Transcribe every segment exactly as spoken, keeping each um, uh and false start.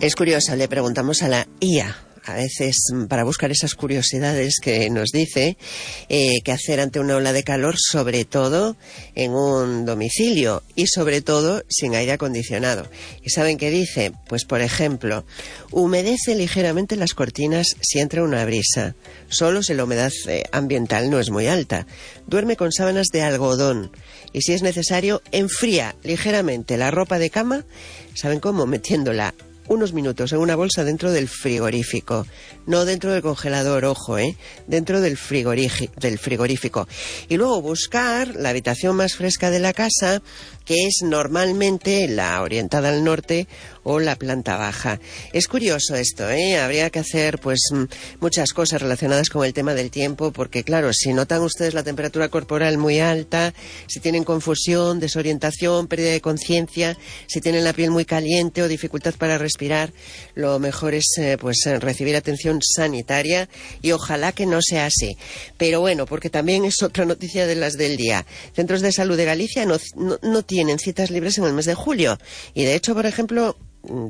Es curioso, le preguntamos a la I A, a veces para buscar esas curiosidades que nos dice eh, qué hacer ante una ola de calor, sobre todo en un domicilio y sobre todo sin aire acondicionado. ¿Y saben qué dice? Pues por ejemplo, humedece ligeramente las cortinas si entra una brisa, solo si la humedad eh, ambiental no es muy alta. Duerme con sábanas de algodón y si es necesario enfría ligeramente la ropa de cama. ¿Saben cómo? Metiéndola unos minutos en una bolsa dentro del frigorífico, no dentro del congelador, ojo, ¿eh? Dentro del, del frigorífico. Y luego buscar la habitación más fresca de la casa, que es normalmente la orientada al norte o la planta baja. Es curioso esto, ¿eh? Habría que hacer pues muchas cosas relacionadas con el tema del tiempo, porque claro, si notan ustedes la temperatura corporal muy alta, si tienen confusión, desorientación, pérdida de conciencia, si tienen la piel muy caliente o dificultad para respirar, lo mejor es eh, pues recibir atención sanitaria y ojalá que no sea así. Pero bueno, porque también es otra noticia de las del día. Centros de Salud de Galicia no, no, no tienen citas libres en el mes de julio y de hecho, por ejemplo,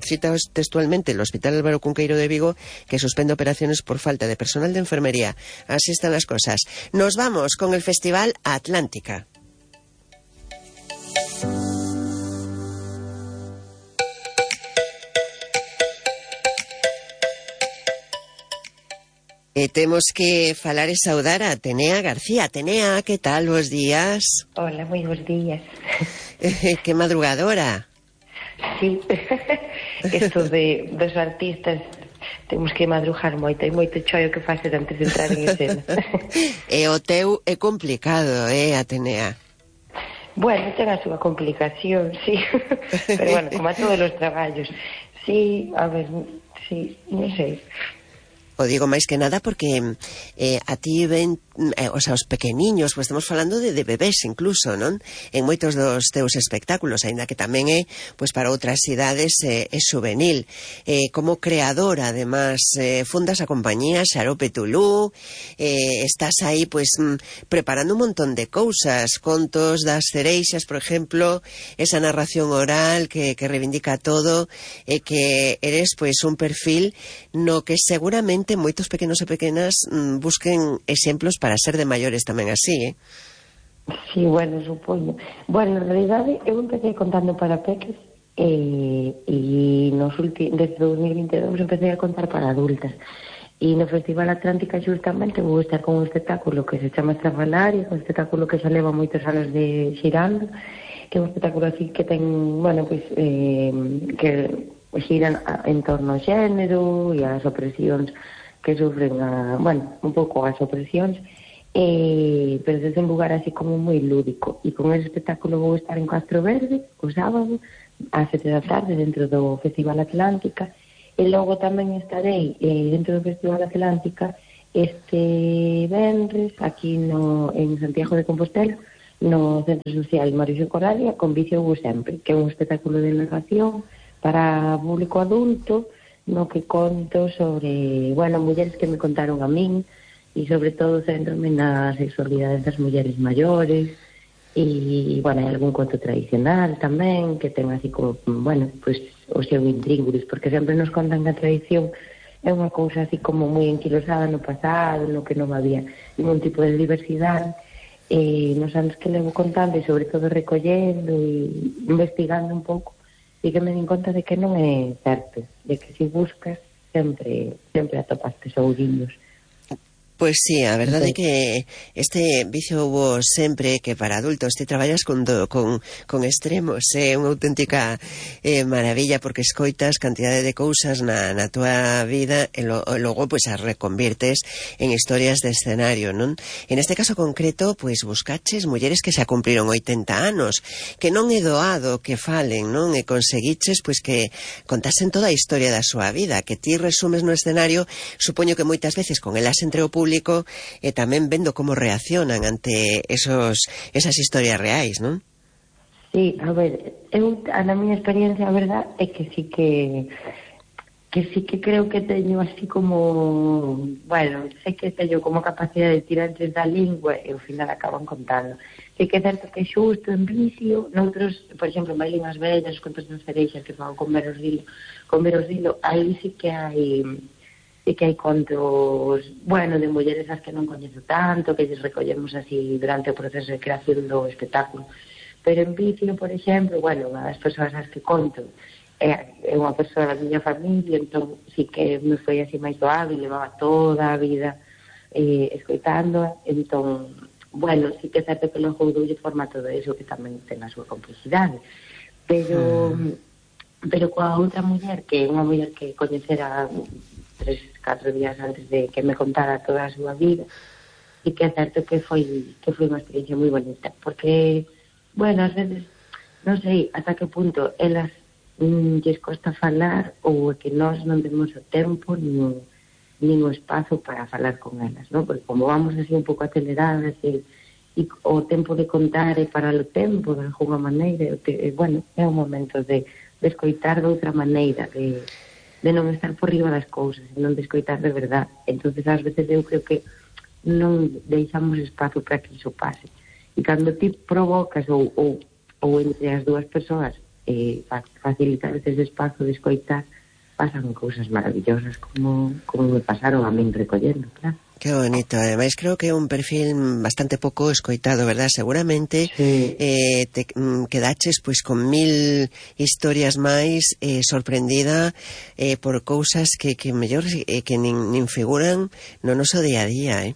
cita textualmente el Hospital Álvaro Cunqueiro de Vigo, que suspende operaciones por falta de personal de enfermería. Así están las cosas. Nos vamos con el Festival Atlántica. E temos que falar e saudar a Atenea García. Atenea, que tal? Bos días. Hola, moi bos días. Que madrugadora. Sí, isto de, dos artistas temos que madrugar moito, hai moito choio que facer antes de entrar en escena. E o teu é complicado, eh, Atenea? Bueno, ten a súa complicación, sí, pero bueno, como a todos os traballos. Sí, a ver, sí, non sei. O digo máis que nada porque eh, a ti ven, eh, o sea, os pequeniños, pues estamos falando de, de bebés incluso, non? En moitos dos teus espectáculos, aínda que tamén é, pues para outras idades é, é juvenil. Eh, como creadora, además, eh, fundas a compañía Xarope Tulú, eh, estás aí, pues, mm, preparando un montón de cousas, contos das cereixas, por exemplo, esa narración oral que, que reivindica todo, e eh, que eres, pues, un perfil no que seguramente moitos pequenos e pequenas mm, busquen exemplos para ser de maiores tamén así, eh? Sí, bueno, supoño. Bueno, en realidade, eu empecé contando para peques e, e nos últimos, desde dos mil vinte e dous empecé a contar para adultas. E no Festival Atlántica justamente vou estar con un espectáculo que se chama Estrafalaria, un espectáculo que xa leva moitos anos de xirando, que é un espectáculo así que ten, bueno, pois, pues, eh, que xiran en torno ao xénero e ás opresións que sufren, a, bueno, un pouco as opresións, eh, pero desde un lugar así como moi lúdico. E con ese espectáculo vou estar en Castro Verde o sábado ás sete da tarde dentro do Festival Atlántica, e logo tamén estarei eh, dentro do Festival Atlántica este venres aquí no, en Santiago de Compostela, no Centro Social Mauricio Coralia, con Vicio Hugo Sempre, que é un espectáculo de narración para público adulto, no que conto sobre, bueno, mulleres que me contaron a min, e sobre todo centrome na sexualidade das mulleres maiores, e, bueno, hai algún conto tradicional tamén, que ten así como, bueno, pues, o seu intríngulis, porque sempre nos contan que a tradición é unha cousa así como moi enquilosada no pasado, no que non había ningún tipo de diversidade, e nos anos que levo contando, e sobre todo recollendo e investigando un pouco, e que me din conta de que non é certo, de que se buscas sempre sempre atopas tesourinhos. Pois sí, a verdade é que este Vicio Hubo Sempre, que para adultos te traballas con, do, con, con extremos, é unha auténtica eh, maravilla, porque escoitas cantidade de cousas na, na tua vida e, lo, e logo pues, as reconvirtes en historias de escenario, non? En este caso concreto, pues buscaches mulleres que xa cumpriron oitenta anos, que non é doado que falen, non? E conseguiches pues, que contasen toda a historia da súa vida, que ti resumes no escenario, supoño que moitas veces con elas entre o público público e tamén vendo como reaccionan ante esos esas historias reais, non? Sí, a ver, eu, a na miña experiencia, a verdad, é que sí que que sí que creo que teño así como, bueno, sei que teño como capacidade de tirarles da lingua e ao final acaban contando. sí que é certo que xusto en vicio, noutros, por exemplo, Bailín as vellas, os contos das cereixas que fan con Veros Dilo, con Veros Dilo, aí sí que hai sí que hai contos, bueno, de mulleres as que non coñezo tanto, que lles recollemos así durante o proceso de creación do espectáculo. Pero en vicio, por exemplo, bueno, unha das persoas as que conto é, é unha persoa da miña familia, entón sí que me foi así máis doado e levaba toda a vida eh, escoitándoa, entón, bueno, sí que é certo que logo doulle forma todo eso que tamén ten a súa complexidade, pero mm. pero coa outra muller, que é unha muller que coñecera tres, catro días antes de que me contara toda a súa vida, sí que é certo que foi que foi unha experiencia moi bonita, porque, bueno, ás veces, non sei ata que punto elas mm, lles costa falar ou é que nós non temos o tempo nin nin o espazo para falar con elas, ¿no? Porque como vamos así un pouco aceleradas e, e o tempo de contar é para o tempo de alguna maneira, e, bueno, é un momento de, de escoitar de outra maneira, de, de non estar por riba das cousas, non de escoitar de verdad. Entonces ás veces eu creo que non deixamos espazo para que iso pase, e cando ti provocas ou, ou, ou entre as dúas persoas eh, facilitar ese espazo de escoitar, pasan cousas maravillosas como, como me pasaron a min recollendo, claro. Que bonito, ademais creo que é un perfil bastante pouco escoitado, verdad? Seguramente sí. eh, te mm, quedaches pois con mil historias máis, eh, sorprendida eh, por cousas que, que mellor eh, que nin, nin figuran no noso día a día, eh?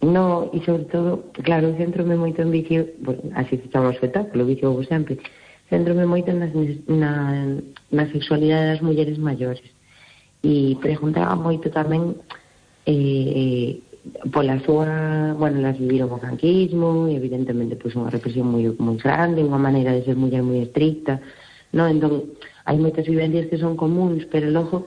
No, e sobre todo, claro, centrome moito en vicio, bueno, así se chama o espectáculo, vicio vos sempre, centrome moito nas, na, na sexualidade das mulleres maiores, e preguntaba moito tamén eh, pola súa, bueno, las viviron o franquismo e evidentemente pois unha represión moi, moi grande, unha maneira de ser muller moi estricta, no? Entón hai moitas vivencias que son comuns, pero logo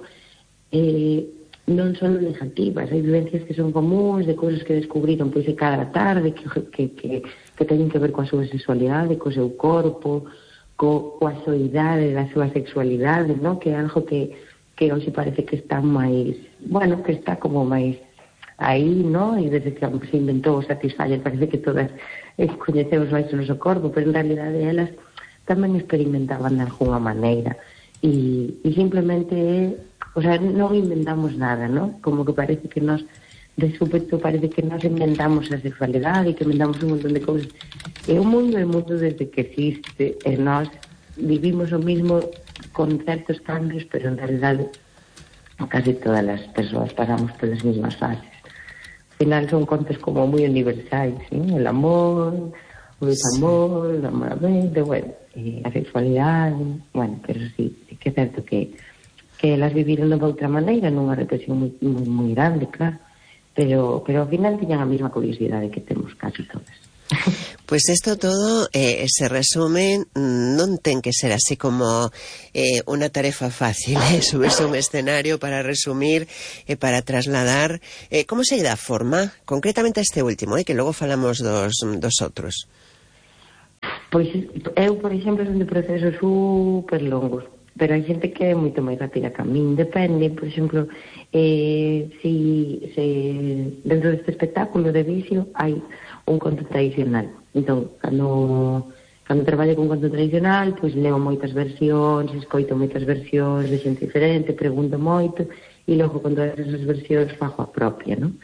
eh, non son negativas, hai vivencias que son comuns, de cousas que descubriron pois de cada tarde, que, que, que, que teñen que ver coa súa sexualidade, co seu corpo, co, coa soidade da súa sexualidade, no? Que é algo que, que hoxe parece que está máis, bueno, que está como máis aí, no? E desde que se inventou o Satisfyer parece que todas eh, coñecemos máis o noso corpo, pero en realidade elas tamén experimentaban de alguna maneira, e, e simplemente, o sea, non inventamos nada, no? Como que parece que nós de súpeto parece que nós inventamos a sexualidade e que inventamos un montón de cousas. E o mundo é o mundo desde que existe, e nós vivimos o mismo con certos cambios, pero en realidade casi todas as persoas pasamos polas mismas fases. Al final son contos como moi universais, ¿no? El amor, o desamor, o enamoramiento, bueno, e a sexualidade, bueno, pero sí, sí que é certo que que elas viviron de outra maneira, nunha represión moi, moi, moi grande, claro, pero, pero ao final tiñan a mesma curiosidade que temos casi todas. Pois pues isto todo eh, se resume, non ten que ser así como eh, unha tarefa fácil, eh, subirse a un escenario para resumir e eh, para trasladar. Eh, como se dá forma? Concretamente a este último, eh, que logo falamos dos, dos outros. Pois eu, por exemplo, son de procesos super longos, pero hai xente que é moito máis rápida que a min, depende, por exemplo, eh, si, se dentro deste espectáculo de vicio hai un conto tradicional, entón, cando, cando traballo con conto tradicional, pois leo moitas versións, escoito moitas versións de xente diferente, pregunto moito, e logo con todas esas versións fago a propia, non?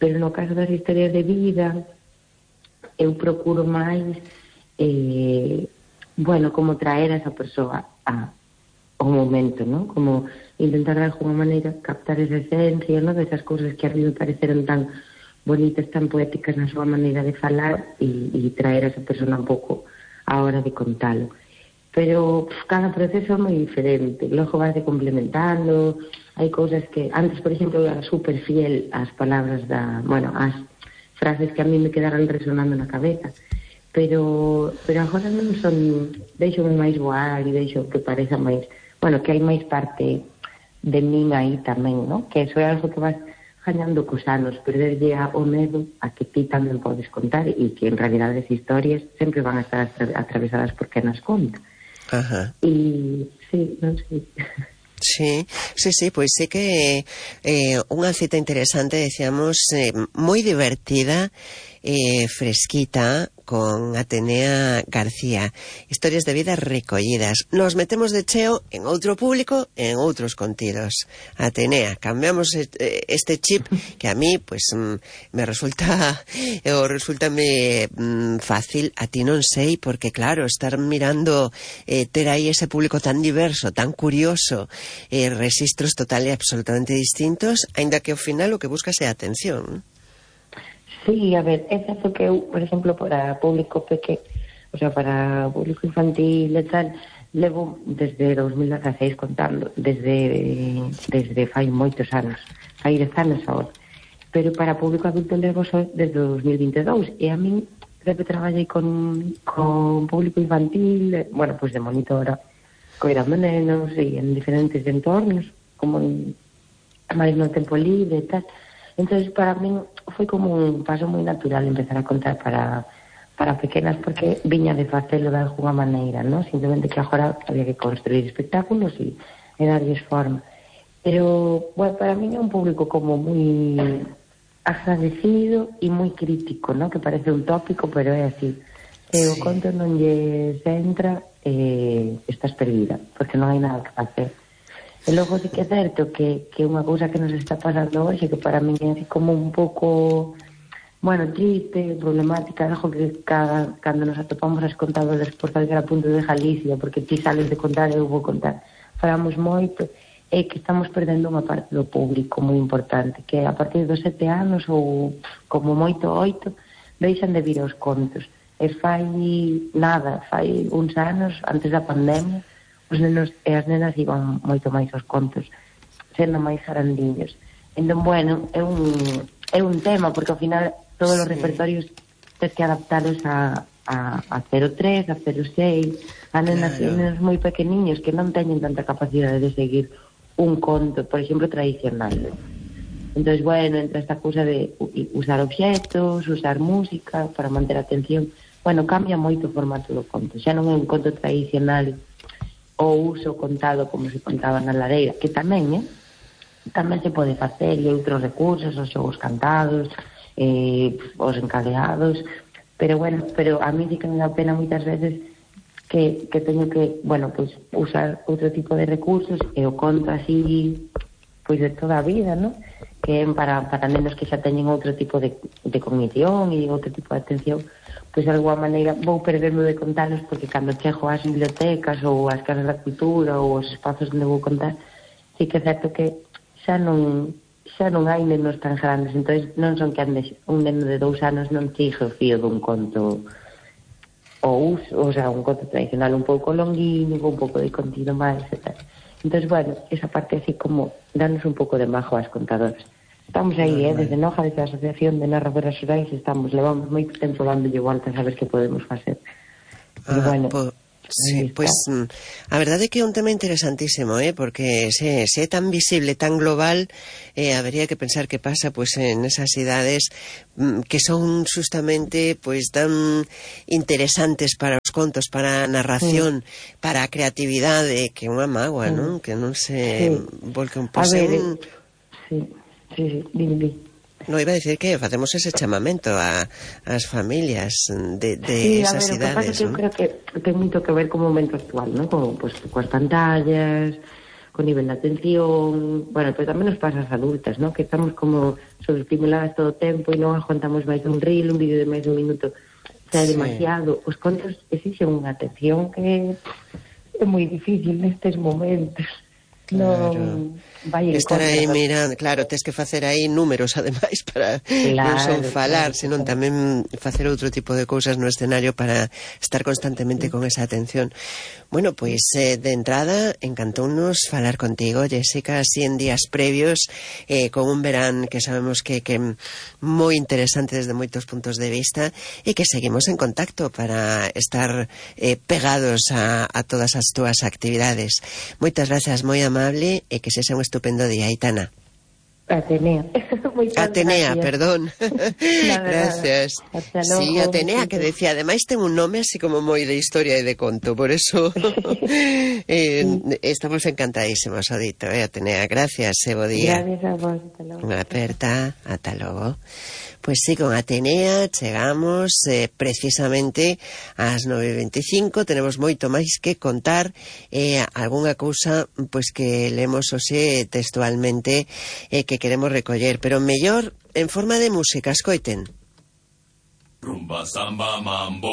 Pero no caso das historias de vida, eu procuro máis, eh, bueno, como traer a esa persoa a o momento, ¿no? Como intentar de alguna maneira captar esa esencia, ¿no? De esas cousas que a mí me pareceron tan bonitas, tan poéticas na súa maneira de falar, e, e traer a esa persona un pouco a hora de contalo. Pero pff, cada proceso é moi diferente, logo vai complementando, hai cousas que antes, por exemplo, era super fiel ás palabras da, bueno, ás frases que a mí me quedaran resonando na cabeza, pero pero agora non son, deixo-me máis voar e deixo que pareza máis, bueno, que hai máis parte de min aí tamén, ¿no? Que eso é algo que vas gañando cos anos, perderlle o medo a que ti tamén podes contar, e que en realidade as historias sempre van a estar atravesadas por quen as conta. Ajá. E, sí, non sei. Sí, sí, sí, pois sí que eh, unha cita interesante, decíamos, eh, moi divertida, eh, fresquita con Atenea García. Historias de vida recollidas. Nos metemos de cheo en outro público, en outros contidos. Atenea, cambiamos este chip que a mí, pues, me resulta, o resultame fácil, a ti non sei, porque claro, estar mirando, eh, ter aí ese público tan diverso, tan curioso, eh, registros total e absolutamente distintos, aínda que ao final o que buscas é atención. Sí, a ver, é certo que eu, por exemplo, para público peque, o sea, para público infantil e tal, levo desde dos mil dieciséis contando, desde desde fai moitos anos, fai dez anos agora. Pero para público adulto levo só desde dos mil vinte e dous, e a min sempre traballei con, con público infantil, bueno, pois pues de monitora, coidando nenos e en diferentes entornos, como en, máis no tempo libre e tal. Entonces, para min foi como un paso moi natural empezar a contar para, para pequenas, porque viña de facelo de alguna maneira, ¿no? Simplemente que agora había que construir espectáculos e, e darlles forma. Pero, bueno, para min é un público como moi agradecido e moi crítico, ¿no? Que parece un tópico, pero é así. Se sí. O conto non lles entra, eh, estás perdida, porque non hai nada que facer. E logo sí que é certo que, que unha cousa que nos está pasando hoxe, que para mí é así como un pouco, bueno, triste, problemática, algo que cada, cando nos atopamos as contadoras por calquera punto de Galicia, porque ti sales de contar e eu vou contar, falamos moito, é que estamos perdendo unha parte do público moi importante, que a partir dos sete anos ou como moito oito, deixan de vir aos contos. E fai nada, fai uns anos, antes da pandemia, os nenos e as nenas iban moito máis aos contos, sendo máis grandiños. Entón, bueno, é un, é un tema, porque ao final todos sí. Os repertorios tens que adaptaros a, a, a cero tres, a cero seis, a nenas claro. E nenos moi pequeniños que non teñen tanta capacidade de seguir un conto, por exemplo, tradicional. Entón, bueno, entra esta cousa de usar obxectos, usar música para manter a atención. Bueno, cambia moito o formato do conto. Xa non é un conto tradicional o uso contado como se contaba na lareira, que tamén, eh? Tamén se pode facer, e outros recursos, os xogos cantados, eh, os encadeados, pero bueno, pero a mí sí que me dá pena moitas veces que, que teño que, bueno, pues usar outro tipo de recursos, e o conto así, pois de toda a vida, ¿no? Que para, para nenos que xa teñen outro tipo de, de cognición e outro tipo de atención, pois de alguma maneira vou perderme de contalos, porque cando chego ás bibliotecas ou ás casas da cultura ou aos espazos onde vou contar, sí que é certo que xa non xa non hai nenos tan grandes, entón non son que andes un neno de dous anos non sigue o fío dun conto ou uso, o sea, un conto tradicional un pouco longuinho, un pouco de contido máis e tal. Entón, bueno, esa parte así como danos un pouco de majo ás contadoras. Estamos aí, eh, desde Noja, desde a Asociación de Narradoras Xurais, estamos, levamos moito tempo dándolle voltas a ver que podemos facer. Ah, bueno, po, sí, pois pues, a verdade é que é un tema interesantísimo, eh, porque se, se é tan visible, tan global, eh, habería que pensar que pasa pues en esas idades mm, que son justamente pues tan interesantes para os contos, para a narración, sí. Para a creatividade, que é unha mágoa, sí. Non? Que non se sí. Volque un poco en... Sí. Sí, sí, dime, dime. No, iba a decir que facemos ese chamamento a as familias de, de sí, esas ver, idades, ¿no? Eu creo que ten moito que ver co momento actual, ¿no? Como, pues, coas pantallas, con nivel de atención, bueno, pero tamén nos pasa as adultas, ¿no? Que estamos como sobreestimuladas todo o tempo e non aguantamos máis un reel, un vídeo de máis de un minuto, xa é sí. Demasiado. Os contos exixen unha atención que é moi difícil nestes momentos. Claro. Non vai estar aí mirando, claro, tes que facer aí números ademais para claro, non son falar, claro, senón claro. Tamén facer outro tipo de cousas no escenario para estar constantemente sí. Con esa atención. Bueno, pois eh, de entrada encantounos falar contigo, Jessica, así en días previos, eh, con un verán que sabemos que que moi interesante desde moitos puntos de vista, e que seguimos en contacto para estar eh, pegados a, a todas as túas actividades. Moitas grazas, moi amable, e que sexa un estupendo día, Aitana. Atenea. Atenea, gracias. perdón. Nada, Gracias. Nada. Hasta logo, Sí, Atenea, que decía, ademais ten un nome así como moi de historia e de conto, por eso eh, estamos encantadísimos, Odito, eh, Atenea. Gracias, e bo día. Gracias a vos, hasta logo. Unha aperta, ata logo. Pois sí, con Atenea chegamos eh, precisamente ás nove e veinticinco. Tenemos moito máis que contar, eh, algunha cousa pois que lemos hoxe textualmente eh, que queremos recoller, pero mellor en forma de música. Escoiten. Rumba, samba, mambo.